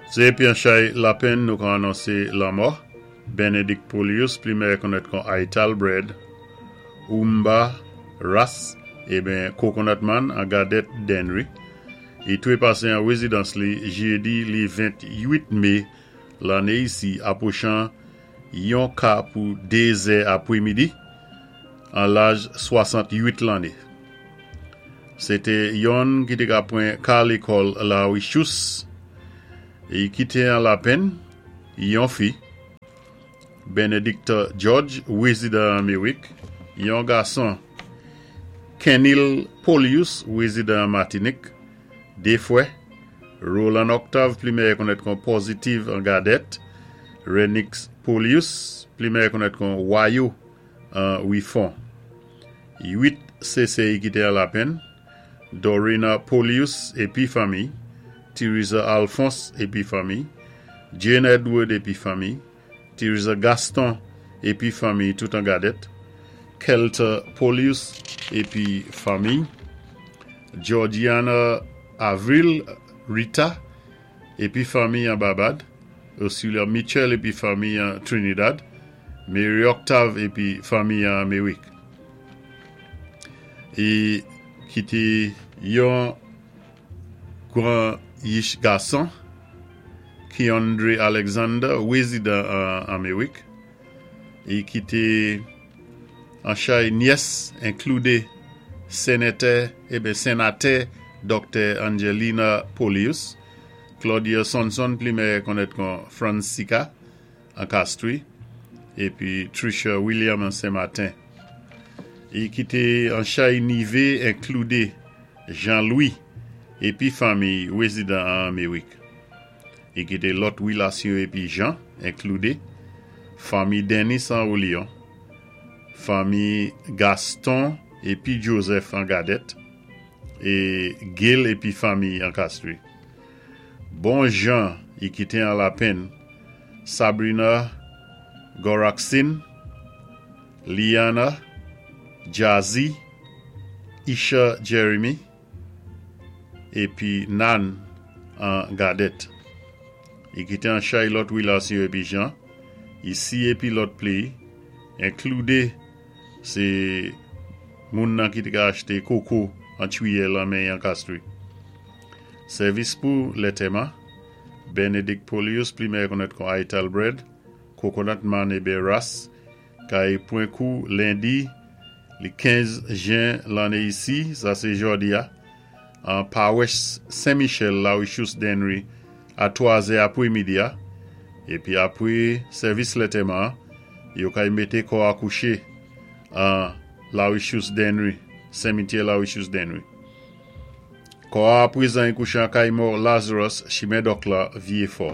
Sé épi an chay lapenn nou ka anonsé lanmò Benedict Polius, pli mèyè konnèt kon Ital Bread, Oumba Ras eben Coconut Man an Gadèt Dennery. I twé pasé an wézidans li jédi li 28 mé lanné isi apwochan yon ka pou 2 zè apwémidi an laj 68 lanné. Sé té yonn ki té ka pwan ka lékòl La Richous. I kité an lapenn yon fi, Benedicta George, wézidan Amerik, yon gason, Kenil Polius, wézidan Matinik, dé fwè, Roland Octave, pli mèyè konnèt kon Positive an Gadèt, Renix Polius, pli mèyè konnèt kon Wayo an Wifon. 8 sè i kité an lapenn, Dorina Polius épi fanmi, Theresa Alphonse épi fanmi, Jane Edward épi fanmi, Theresa Gaston épi fanmi tout an Gadèt, Kelta Polius épi fanmi, Georgiana Avril Rita épi fanmi an Babad, Ursula Mitchell épi fanmi an Trinidad, Mary Octave épi fanmi an Amerik. I kité yon gwan yich gason, Keandre Alexander, wézidan an Amerik. I kité an chay nyès enkloudé Sénétè, eben Sénatè Dòktè Angelina Polius, Claudia Sonson, pli mèyè konnèt kon Francica an Castries, épi Trisha William an Sen Maten. I kité an chay nivé enkloudé Jean-Louis épi fanmi wézidan an Amerik. I kité lòt wilasyon épi jan enkloudé fanmi Dennis an Olion, fanmi Gaston épi Joseph an Gadèt, é Gil épi fanmi an Castries. Bon jan i kité an lapenn Sabrina Goraxin, Liana, Jazzy, Isha Jeremy épi Nan an Gadèt. I kité an chay lòt wilasyon épi jan, isi épi lòt péyi, enkloudé sé moun nan ki té ka achté koko an twiyè lan men an Castries. Sèvis pou lantèman, Benedict Polius, pli mèyè konnèt kon Ital Bread, Coconut Man eben Ras, kay pwan kou lendi li 15 jen lanné isi, sa sé jòdi a, an Pawès Saint-Michel, La Richous Dennery, a 3 zè apwémidi a, épi apwé sèvis lantèman, yo kay mété kò a kouché an La Richous Dennery, Simityè La Richous Dennery. Kò a apwézan i kouché an kay mò Lazarus, Chimen Dòk la, Vyé Fò.